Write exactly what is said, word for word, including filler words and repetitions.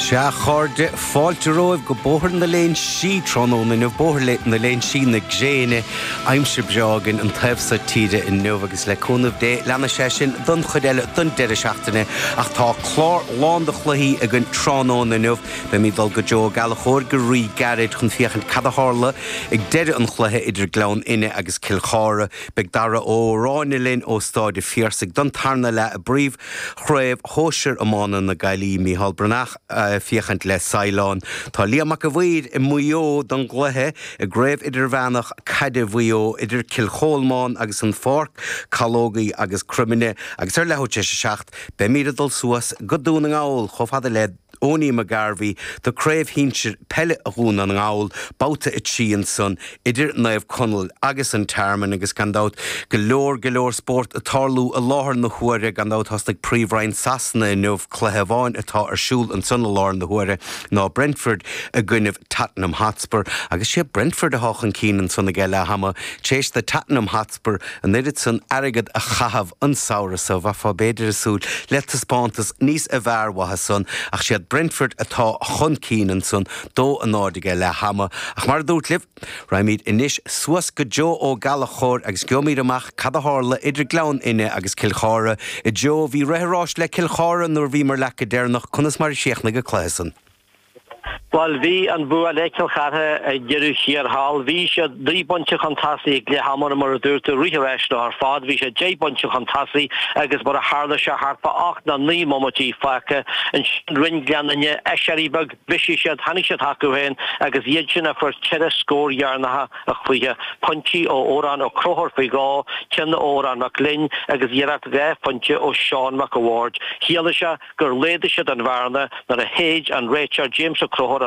Sea, a chairde, fáilte romhaibh go Bóthar na Léinsí tráthnóna inniu, Bóthar na Léinsí na gréine, aimsir breá againn an taobh seo tíre inniu agus le cúnamh Dé leanfaidh sé sin don chuid eile don deireadh seachtaine ach tá clár lán de chluichí againn tráthnóna inniu. Beimid ag dul go Joe Ó Gallchóir go rí-ghairid chun féachaint cad a tharla ag deireadh an chluiche idir Gleann Fhinne agus Cill Chartha. Beidh Dara Ó Ráinne linn ó Stáid an Phiarsaigh don tarna leath i bPríomh-Chraobh Shóisir Iomána na Gaillimhe, Mícheál Breathnach féachaint le Saighleán. Tá Liam Mac a' Mhaoir i Maigh Eo don gcluiche i gCraobh Idirmheánach Caide Mhaigh Eo idir Cill Cholmáin agus an Pháirc, Calógaí agus Croimine agus ar leathuair tar éis a seacht beimid ag dul suas go Dún na nGall chomh fada le Owenie McGarvey do Craobh Shinsir Peile Dhún na nGall, babhta a trí ansan idir Naomh Conaill agus an Tearmann agus gan dabht go leor go leor spórt ag tarlú i láthair na huaire. Gan dabht thosnaigh Príomhroinn Sasana inniu, cluiche amháin atá ar siúl ansan i láthair na huaire ná Brentford i gcoinnibh Tottenham Hotspur agus sé Brentford atá chun cinn ansan ag leath ama tar éis do Tottenham Hotspur an oiread san airgead a chaitheamh an samhradh so bheifeá b'fhéidir ag súil le taispeántas níos fearr uathu san ach siad Brentford atá chun cinn ansan dó a náid ag leath ama. Ach mar a dúirt libh, raghaimid anois suas go Joe Ó Gallchóir agus gheobhaimid amach cad a tharla idir Gleann Fhinne agus Cill Chartha. A Joe, bhí rith an ráis le Cill Chartha nuair a bhíomar leat go deireanach, conas mar a chríochnaigh an cluiche san? Bhuel, bhí an bua le Cill Chartha ag deireadh thiar thall. Bhí siad naoi bpointe chun tosaigh ag leath ama mar a dúirt tú, rith an ráis leo ar fad. Bhí siad deich bpointe chun tosaigh agus mar a tharla sé thart fá ocht nó naoi mbomaití fágtha. Ansin rinne Gleann Fhinne aiséirí beag, bhisigh siad, tháinig siad chucu féin agus iad sin a fuair ceithre scór dheireanacha an chluiche. Pointí ó Odhrán Ó Conchúir faoi dhó, ceann ó Odhrán Mac Gloinn agus iarracht dhá phointe ó Seán Mac a' Bhaird. Chiallaigh sé gur laghdaigh siad an bhearna nuair a shéid an réiteoir James Ó Conchúir